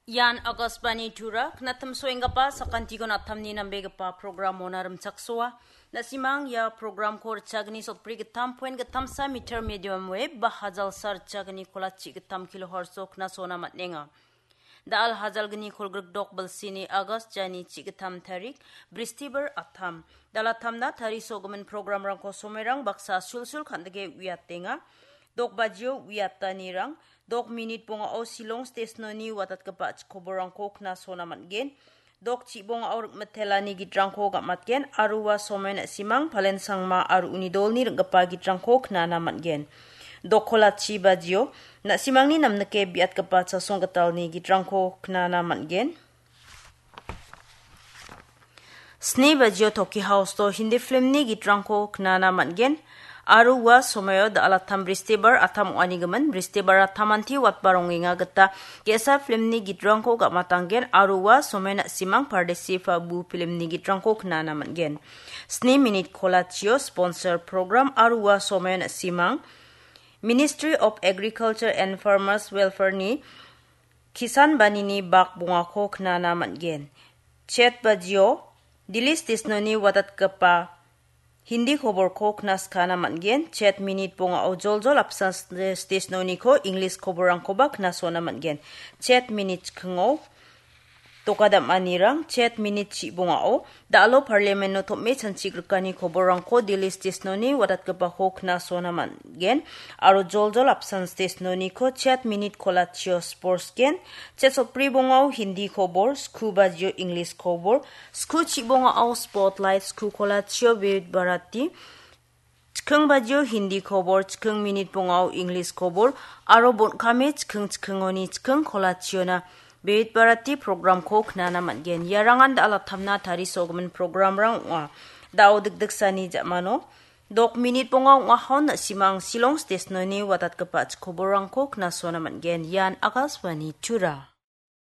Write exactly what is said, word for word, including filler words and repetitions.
Ian Akashvani Tura, knatim soenggipa sakantikon atamni nambegipa programona rimchaksoa. Na·simang ia programko richagni sotbri gittam poen gittamsa meter medium wave ba hajalsa richagni kolachi gittam kilohertz-o knasona man·enga. Da·al hajalgni kolgrikdok bilsini August jani chi gittam tarik, Bristibar atam. Da·al atamna tarisogimin programrangko somoirang baksa sulsul kan·dike uiatenga. Dok bajio uiatanirang, dok minit bongao Shillong stesnoni watatgipa chikoborangko knasona man·gen. Dok chibongao rikmitelani gitrangko gam·atgen, aro ua somoian na·simang Palen Sangma aro uni dolni ring·gipa gitrangko knana man·gen. Dok kolachi bajio, na·simangni namnike biatgipa chasong gitalni gitrangko knana man·gen. Sni bajio Toki House-o Hindi filmni gitrangko knana man·gen. Aro ua somoio da·al atam Bristibar atam ong·anigimin, Bristibar atamanti watba rongenga gita ge·sa filmni gitrangko gam·atanggen, aro ua somoio na·simang Pardesi Pabu filmni gitrangko knana man·gen. Sni minit kolachio sponsor program aro ua somoio na·simang Ministry of Agriculture and Farmers Welfare-ni Kisan Banini bak bongako knana man·gen. Chet bajio, Delhi stesnoni watatgipa Hindi koborko knaskana man·gen. Chet minit bongao joljol apsan stesnoniko English koborrangkoba knasona man·gen. Chet minit chikingo dokadam·anirang, chet minit chibongao da·alo parliament-o tom·e chanchigrikani koborrangko Delhi stesnoni watatgipako knasona man·gen. Aro joljol apsan stesnoniko chet minit kolachio sports gen, chet sotbri bongao Hindi kobor, sku bajio English kobor, sku chibongao Spotlight, sku kolachio Vividh Bharati, chiking bajio Hindi kobor, chiking minit bongao English kobor, aro bon·kame chiking chikingoni chiking kolachiona Vividh Bharati programko knana man·gen. Iarangan da·al atamna tarisogimin programrang ong·a. Da·o dikdiksani ja·mano dok minit bonga ong·ahon na·simang Shillong stesnoni watatgipa chikoborrangko knasona man·gen. Ian Akashvani Tura.